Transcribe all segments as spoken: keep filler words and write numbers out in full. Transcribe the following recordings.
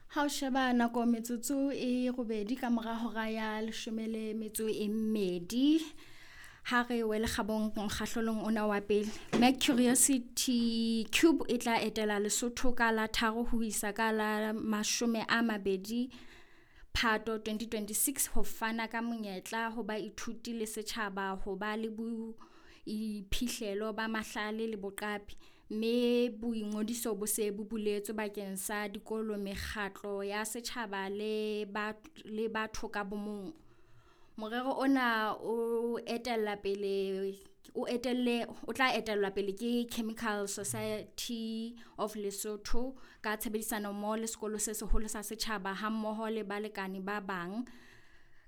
Ha o sheba nako metsotso e robedi ka mora hora ya leshome le metso e mmedi ha re wele kgabong mokgahlelong ona wa pele. Mac Curiosity Cube e tla etela Lesotho ka la tharo ho isa ka la mashome a mabedi Phato twenty twenty-six ho fana ka monyetla ho baithuti le setjhaba ho ba le boiphihlelo ba mahlale le boqapi, mme boingodiso bo se bo buletswe bakeng sa dikolo, mekgatlo ya setjhaba le le batho ka bomong. Morero ona o etella pele o etelle o tla etellwa pele ke Chemical Society of Lesotho ka tshebedisano mmoho le sekolo se seholo sa setjhaba hammoho le balekane ba bang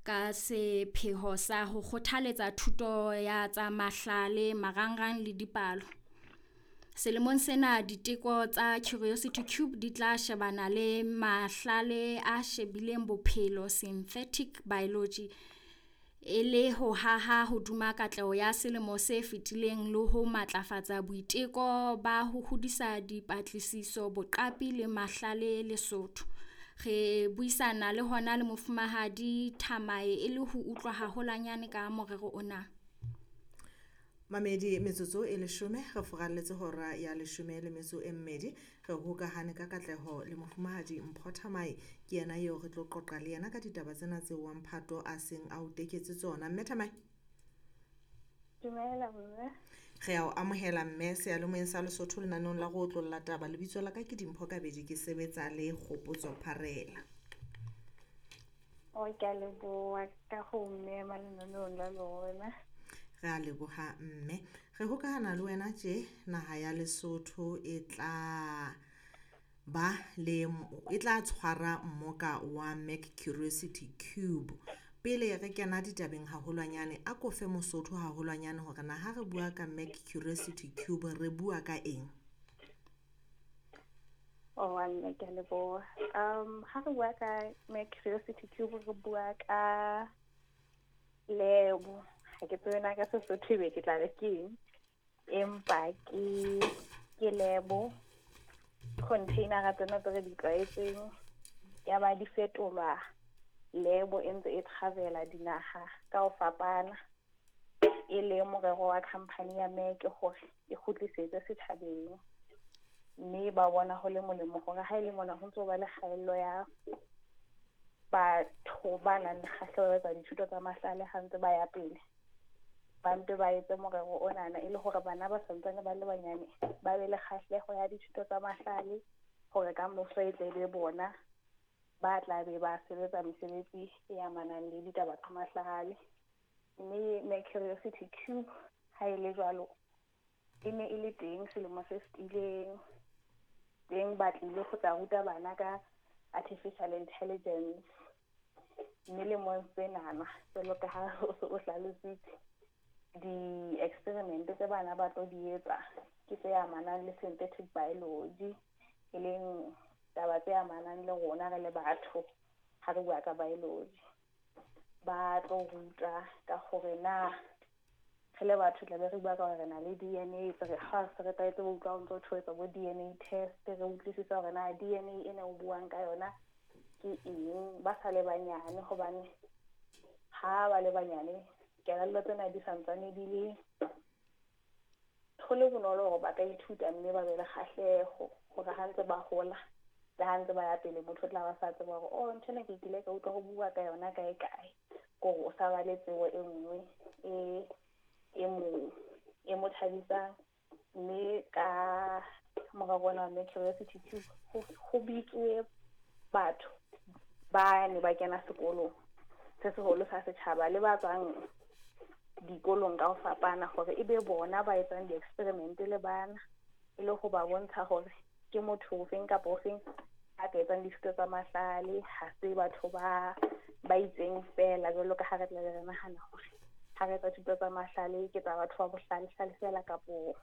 ka sepheo sa ho kgothaletsa thuto ya tsa mahlale, marangrang le dipalo. Selemong sena diteko tsa Curiosity Cube di tla shebana le mahlale a shebileng bophelo, synthetic biology, e le ho haha hodima katleho ya selemo se fetileng le ho matlafatsa boiteko ba ho hodisa dipatlisiso, boqapi le mahlale Lesotho. Re buisana le hona le Mofumahadi Thamae e le ho utlwa haholwanyane ka morero ona. Mamedi metsotso e leshome re furalletse hora ya leshome le metso e mmedi re hokahane ka katleho le Mofumahadi Mpho Thamae ke yena eo re tlo qoqa le yena ka ditaba tsena tseo wa mphato a seng a o teketse tsona. Mme Thamae, dumela mme. Re a o amohela mme seyalemoyeng sa Lesotho lenaneong la go otlolla taba. Lebitso la ka ke Dimpho Kabedi, ke sebetsa le Kgopotso Pharela. O ke a leboha ka ho mmema lenaneong la lona. Re a leboha mme. Re hokahana le wena tje naha ya Lesotho e tla ba le e tla tshwara mmoka wa Mac Curiosity Cube. Pele re kena ditabeng haholwanyane, a ko fe Mosotho haholwanyane hore na ha re bua ka Mac Curiosity Cube re bua ka eng? Oh, mme ke a leboha. Um ha re bua ka Mac Curiosity Cube re bua ka lebo. Ha ke tsebe na ka Sesotho ebe ke tla re ke eng, empa ke ke lebo container tsena tse re di tlwaetseng ya ba di fetolwa lebo e ntse e travela dinaha ka ho fapana, e le morero wa company ya Mac hore e kgutlisetse setjhabeng, mme ba bona ho le molemo hore ha e le mona ho ntso ba le kgaello ya batho ba nang le kgahleho ya tsa dithuto tsa mahlale ha ntse ba ya pele, ba mpe ba etse morero onana e le hore bana ba santsane ba le banyane ba be le kgahleho ya dithuto tsa mahlale hore ka moso e tle be bona ba tla be ba sebetsa mesebetsi e amanang le ditaba tsa mahlale. Mme Mac Curiosity Cube ha e le jwalo e ne e le teng selemo se fetileng, teng ba tlile ho tla ruta bana ka artificial intelligence, mme lemong senana jwalo ka ha o se o hlalositse di-experiment tse bana ba tlo di etsa ke tse amanang le synthetic biology, e leng taba tse amanang le rona re le batho ha re bua ka biology. Ba tlo ruta ka hore na re le batho tla be re bua ka hore re na le D N A, re ha se re tlwaetse ho utlwa ho ntso ho bo D N A test, re utlwisisa hore na D N A ena o buang ka yona ke eng ba sa le banyane, hobane ha ba le banyane kelello tsena di santsane di le ho le bonolo hore ba ka ithuta mme ba be le kgahleho hore ha ntse ba hola le ha ntse ba ya pele motho o tla ba sa tseba hore oh ntho ena ke kile ka utlwa ho bua ka yona kae kae, kore o sa ba le tsebo e nngwe e e mo e mo thabisang. Mme ka morero ona wa Mac Curiosity Cube ho bitsuwe batho ba ne ba kena sekolong se seholo sa setjhaba le ba tswang dikolong ka ho fapana hore e be bona ba etsang di-experiment le bana, e le ho ba bontsha hore ke motho ofeng kapa ofeng a ka etsang dithuto tsa mahlale, ha se batho ba ba itseng fela jwalo ka ha re tla be re nahana hore ha re etsa thuto tsa mahlale ke tsa batho ba bohlale-hlale fela kapo